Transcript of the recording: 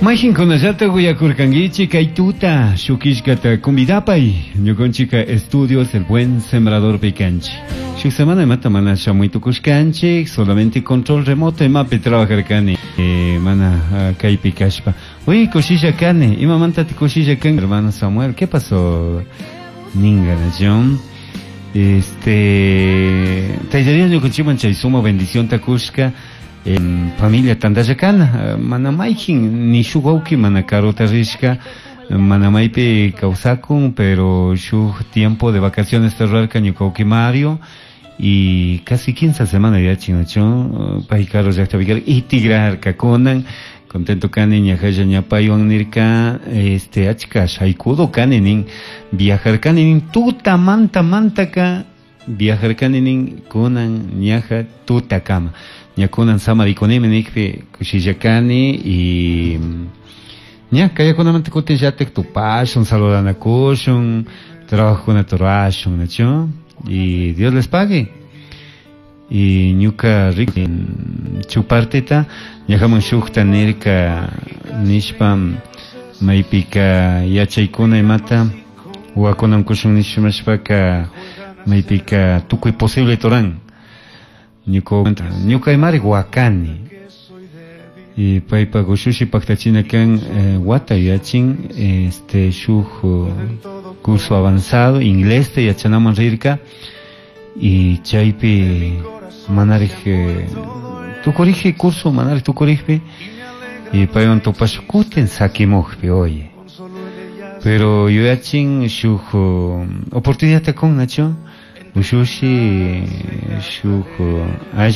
Mayqinkunallata uyakurkankichik kay tuta shukishkata convidapay ñukanchika estudios El Buen Sembrador pikanchik. Shuk semana imata mana shamuy tukushkanchik, solamente control remoto imapi trabajarkani mana kaypi kashpa. Uy, kushilla kani, imamanta kushilla kan, hermano Samuel, ¿qué pasó? Ninga nación. Tayta Dios ñukanchikman chay suma bendición takushka. Familia tantalla kana, mana mayqin ni shuk wawqi mana karuta rishka, mana maypi kawsakun, pero shuk tiempo de vacaciones rurarka ñuka wawqi Mario y casi 15 semanas yachin nachu, pay karu llaqtapi karka y tigrarka kunan, contento kani ñahalla ña paywan nirka, achka shaykudo kani nin, viajarkani nin tutamanta mantaka viajarkani nin kunan ñaja tutakama. Ña kunan samarikunimi nikpi kushilla kani y ña kayakunamanta kutin llatik tupashun, saludanakushun, trabajokunata rurashun, nachu? Y Dios les pague. Y ñuka rico chupartita ñajaman shukta nirka nishpa maypika yachaykuna imata wakunan kushun nishmashpaka maypika tukuy posible turan. Ñuka imari wakani. Y paypa ushushi paktachina kan wata yachin, shuk curso avanzado inglés te yachanaman rirka y chaypi manarij tukuriji curso manarij tukurijpi y paywan tupash kutin sakimujpi, oye. Pero yuyachin shuk oportunidad kun nacho ushushi shuk.